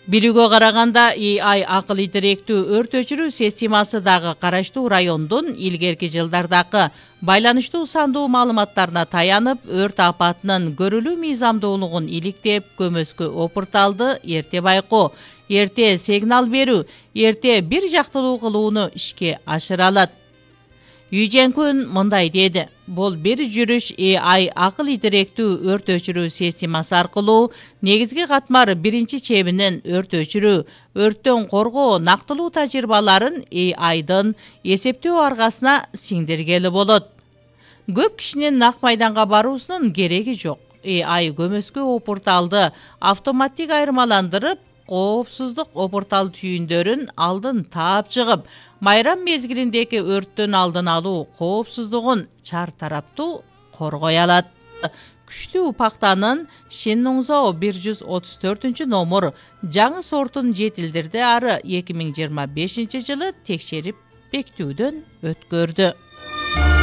Билүүгө караганда AI акыл идиректүү өрт өчүрүү системасы дагы караштуу райондун илгерки жылдардагы байланыштуу сандуу маалыматтарына таянып, өрт апатынын көрүлүү мыйзамдуулугун иликтеп, көмөскө опурталды эрте байкоо, эрте сигнал берүү, эрте бир жактылуу кылууну ишке ашыра алат. Үй Жэнкүн мындай деди: бул бир жүрүш AI акыл идиректүү өрт өчүрүү системасы аркылуу негизги катмар биринчи чебинен өрт өчүрүү, өрттөн коргоо нактылуу тажрыйбаларын AI'дын эсептөө аргасына сиңдиргели болот. Көп кишинин нак майданга баруусунун кереги жок. AI көмөскө опурталды автоматтик айырмаландырып, коопсуздук опуртал түйүндөрүн алдын таап чыгып, майрам мезгилиндеги өрттүн алдын алуу коопсуздугун чар тараптуу коргой алат. Күчтүү пактанын Шиннуңзоо 134 жаңы сортун жетилдирди, ары 2025 жылы текшерип бекитүүдөн өткөрдү.